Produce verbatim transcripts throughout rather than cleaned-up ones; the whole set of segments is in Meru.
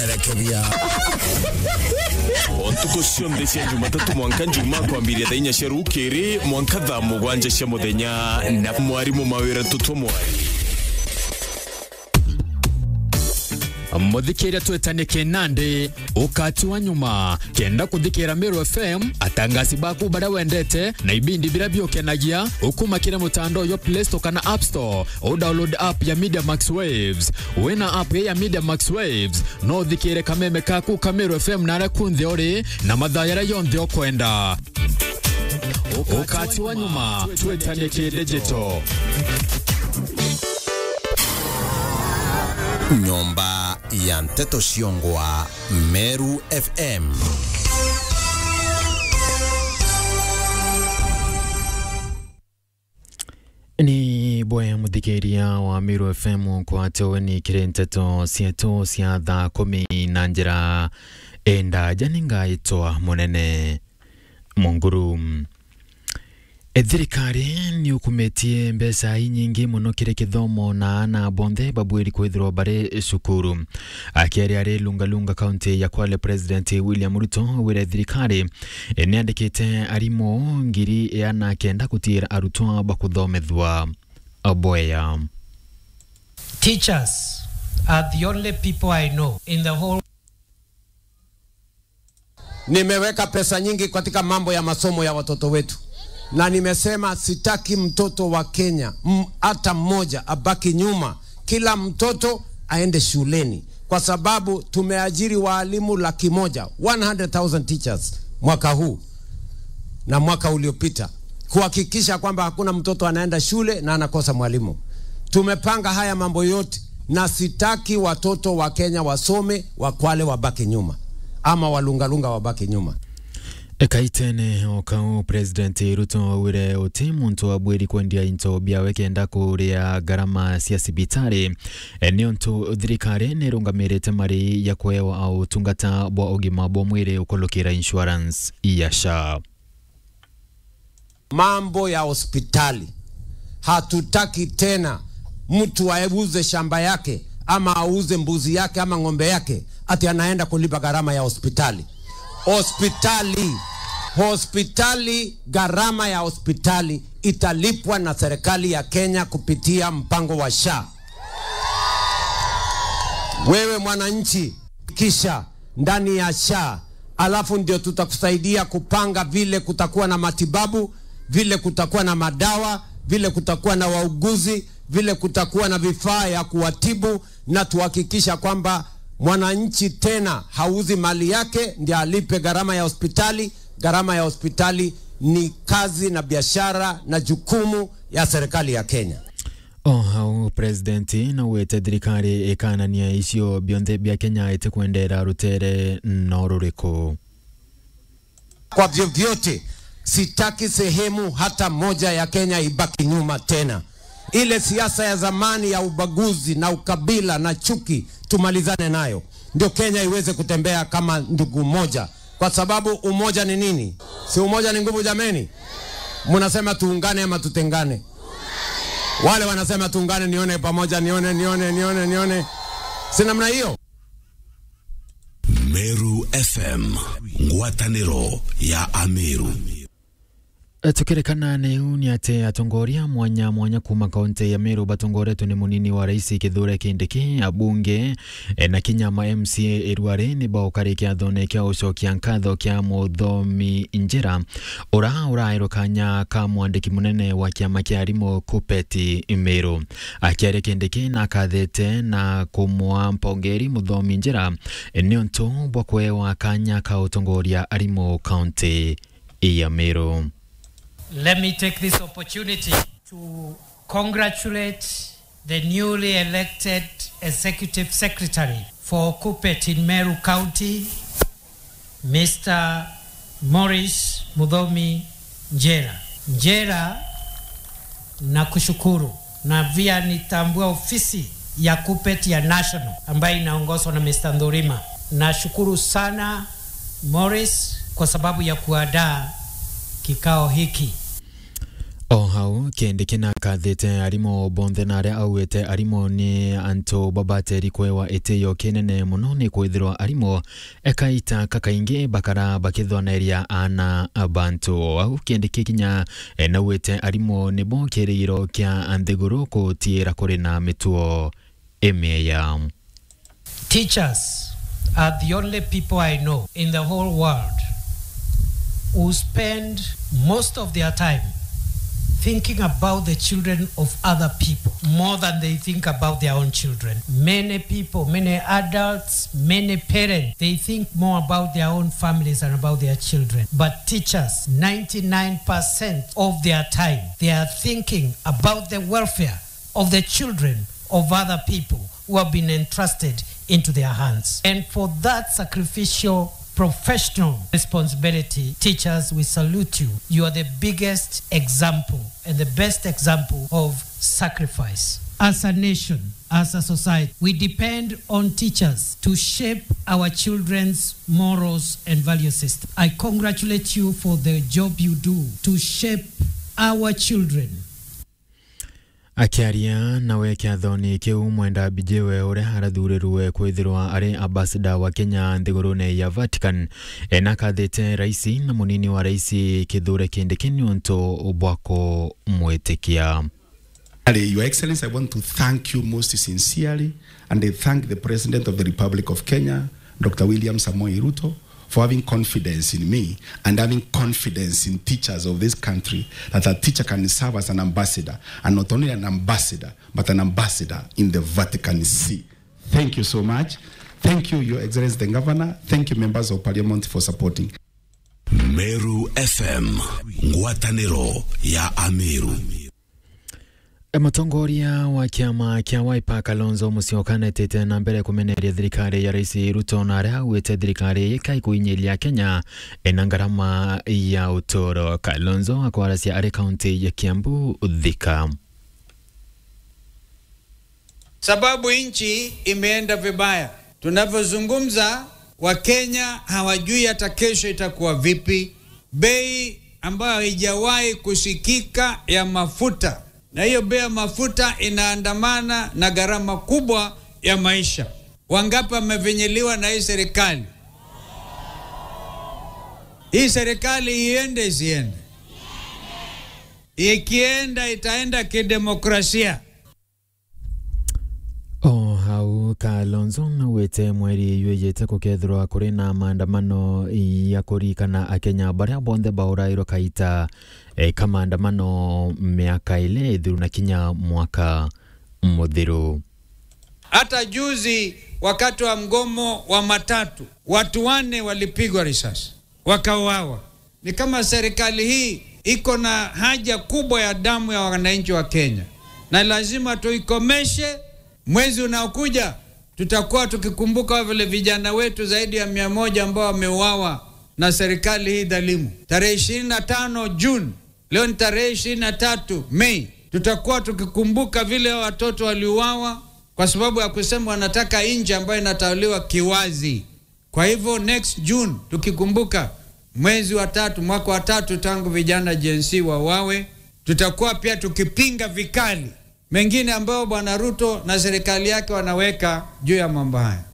Rekebia. O ntuku cionthe cia Jumatatu mwanka Njumaa kwambiria thaa inya cia rukiri mwanka thaa mugwanja cia muthenya, na mwarimu Mawira Tutwa Mwari. Muthikiria twetanie kinandi, ukati wa nyuma, kenda kuthikira Meru F M, atangasi baku baria wendete, na ibindi biria biukenagia, ukuma kiri mutandao jwa Play Store kana App Store, u download app ya Media Max Waves. Wina app ya Media Max Waves, no uthikire kameme kaku ka Meru F M naria kunthe uri, na mathaa jaria jonthe ukwenda. Ukati wa nyuma, twetanie ki digital. Nyomba ya nteto ciongwa Meru F M. Ni bwe muthikiria wa Meru F M nkwate ugeni kiri nteto cietu cia thaa kumi na njira indaja. Ni ngaitwa Munene Munguru. E, thirikari ni ukumitie mbeca inyingi mono kiri kithomo na aana bonthe babwiri kwithirwa bari cukuru. Akiaria ari Lungalunga, kaunti ya Kwale, President William Ruto wire thirikari, e, niandikite arimu ngiri iana kenda gutiira arutwa ba kuthomethua bwega. Teachers are the only people I know in the whole. Nimeweka pesa nyingi katika mambo ya masomo ya watoto wetu, na nimesema sitaki mtoto wa Kenya, m-, hata mmoja abaki nyuma. Kila mtoto aende shuleni, kwa sababu tumeajiri waalimu laki moja, one hundred thousand teachers mwaka huu na mwaka uliopita, kuhakikisha kwamba hakuna mtoto anaenda shule na anakosa mwalimu. Tumepanga haya mambo yote, na sitaki watoto wa Kenya wasome, wa Kwale wabaki nyuma, ama Walungalunga wabaki nyuma. Ekaitene o kau, President Ruto augire uti muntu abwiri kwendia into biawe kenda kuria garama cia cibitari, e, niuntu thirikari nirungamirite mari ya kuewa utungata bwa ugima bwa mwiri ukulukira insurance ya SHA. Mambo ya hospitali. Hatutaki tena mtu auze shamba yake ama auze mbuzi yake ama ng'ombe yake ati anaenda kulipa gharama ya hospitali. Hospitali, hospitali, gharama ya hospitali italipwa na serikali ya Kenya kupitia mpango wa SHA. Wewe mwananchi, kisha ndani ya SHA, alafu ndio tutakusaidia kupanga vile kutakuwa na matibabu, vile kutakuwa na madawa, vile kutakuwa na wauguzi, vile kutakuwa na vifaa ya kuwatibu, na tuhakikisha kwamba mwananchi tena hauzi mali yake ndio alipe gharama ya hospitali. Gharama ya hospitali ni kazi na biashara na jukumu ya serikali ya Kenya. O hau, President naugite thirikari ikanania icio bionthe bia Kenya itikwendera rutere no ruriku. Kwa vyovyote, sitaki sehemu hata moja ya Kenya ibaki nyuma tena. Ile siasa ya zamani ya ubaguzi na ukabila na chuki, tumalizane nayo. Ndio Kenya iweze kutembea kama ndugu moja. Kwa sababu umoja ni nini? Si umoja ni nguvu, jameni? Mnasema tuungane ama tutengane? Wale wanasema tuungane, nione pamoja, nione, nione, nione, nione. Si namna hiyo? Meru F M, ngwataniro ya Ameru. Tukirikana niu ni ati atongoria mwanya mwanya kuma kaunti ya Meru batongoretwe ni munini wa rais Kithure Kindiki, abunge, e, na kinya ma M C A irwari ni baukariki athone kia ucokia nkatho kia Muthomi Njira, ura uraerwo kanya ka mwandiki munene wa kiama kia arimu KUPPET Meru. Akiaria Kindiki na akathete na kumwa mpongeri Muthomi Njira, e, niuntu bwa kuewa kanya ka utongoria arimu kaunti ya Meru. Let me take this opportunity to congratulate the newly elected Executive Secretary for KUPPET in Meru County, Mister Morris Muthomi Njera. Njera, nakushukuru. Na pia nitambua ofisi ya KUPPET ya National ambayo inaongozwa na Mister Ndhurima. Nashukuru sana Morris kwa sababu ya kuandaa kikao hiki. O Hau, Kindiki nakathite arimu bonthe na aria augite arimu ni antu babateri kwewa itio kinene muno, ni kwithirwa arimu ekaita kakaingi bakara bakithwaneria aana a bantu. Au Kindiki kinya, eh, naugite arimu nibo kirigiro kia nthiguru kutiira kuri na mituo imieya. Teachers are the only people I know in the whole world who spend most of their time thinking about the children of other people more than they think about their own children. Many people, many adults, many parents, they think more about their own families and about their children. But teachers, ninety-nine percent of their time, they are thinking about the welfare of the children of other people who have been entrusted into their hands. And for that sacrificial professional responsibility, teachers, we salute you. You are the biggest example and the best example of sacrifice. As a nation, as a society, we depend on teachers to shape our children's morals and value system. I congratulate you for the job you do to shape our children. Akiaria nawe kiathoni kiu, Mwenda Mbijiwe, uria arathurirwe kwithirwa ari ambassador wa Kenya nthigurune ya Vatican, e, nakathite raisi na munini wa raisi Kithure Kindiki niuntu bwa kumwitikia. Your Excellency, I want to thank you most sincerely, and I thank the President of the Republic of Kenya, Doctor William Samoei Ruto, for having confidence in me and having confidence in teachers of this country, that a teacher can serve as an ambassador, and not only an ambassador, but an ambassador in the Vatican See. Thank you so much. Thank you, Your Excellency the Governor. Thank you, Members of Parliament, for supporting. Meru F M, ngwataniro ya Ameru. E, mutongoria wa kiama kia Wiper, Kalonzo Musyoka, netite na mbere kumeneria thirikari ya Rais Ruto, na aria augite thirikari ikai kuinyiria Kenya ena ngarama ya uturo. Kalonzo akwarasia ari kaunti ya Kiambu, Thika. Sababu nchi imeenda vibaya. Tunavyozungumza, Wakenya hawajui hata kesho itakuwa vipi. Bei ambayo haijawahi kusikika ya mafuta, na hiyo bei ya mafuta inaandamana na gharama kubwa ya maisha. Wangapi wamefinyiliwa na hii serikali? Hii serikali iende isiende? Ikienda, itaenda kidemokrasia. O hau, Kalonzo naugite mweri ywijite gukethirwa kuri na maandamano ya kuririkana Akenya baria bonthe baurairwe kaita, e, ka maandamano miaka ili ithiru na kinya mwaka muthiru. Hata juzi wakati wa mgomo wa matatu, watu wanne walipigwa risasi, wakauawa. Ni kama serikali hii iko na haja kubwa ya damu ya wananchi wa Kenya, na lazima tuikomeshe. Mwezi unaokuja tutakuwa tukikumbuka vile vijana wetu zaidi ya mia moja ambao wameuawa na serikali hii dhalimu. Tarehe ishirini na tano June, leo ni tarehe ishirini na tatu Mei, tutakuwa tukikumbuka vile watoto waliuawa kwa sababu ya kusema wanataka nchi ambayo inatawaliwa kiwazi. Kwa hivyo, next June, tukikumbuka mwezi wa tatu, mwaka wa tatu tangu vijana Gen Z wauawe, tutakuwa pia tukipinga vikali mengine ambayo Bwana Ruto na serikali yake wanaweka juu ya mambo haya.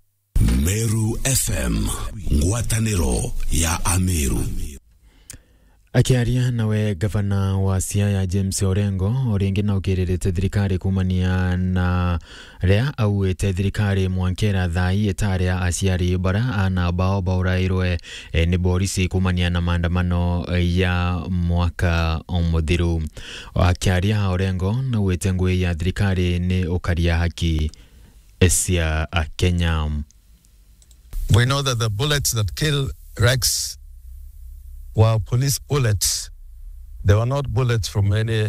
Meru F M, ngwataniro ya Ameru. Akiaria nawe, gavana wa Siaya James Orengo, o ringi naukiririte thirikari kumania na ria augite thirikari mwankera thaa ii itaria aciari bara aana bao baurairwe, e, ni borisi kumania na maandamano ya mwaka muthiru. Akiaria, Orengo naugite ngugi ya thirikari ni ukaria haki cia Akenya. We know that the bullets that kill Rex were police bullets. They were not bullets from any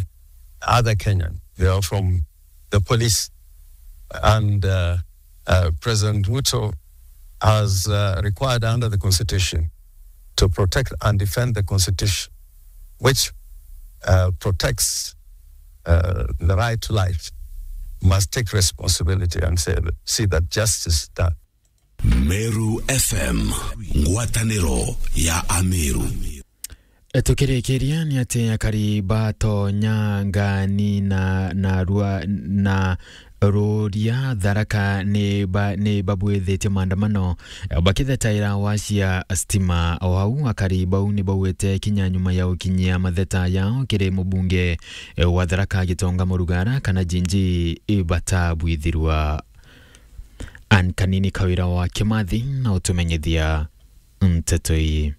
other Kenyan. They were from the police. And, uh, uh, President Ruto has, uh, required under the constitution to protect and defend the constitution, which, uh, protects, uh, the right to life, must take responsibility and say, see that justice is done. Meru F M, ngwataniro ya Ameru. Tukirikiria ni ati akari ba Tonya, Ngani na, na Rua-, na Ruria Tharaka ni ba-, ni babwithitie maandamano, eh, bakithetaira wacia stima. O au akari bau ni baugite kinya nyuma ya gukinyia matheta yao kiri mubunge, eh, wa Tharaka Gitonga Murugara kana Jinji, eh, batabwithirwa. Ann Kanini Kawira wa Kimathi na utumenyithia nteto ii.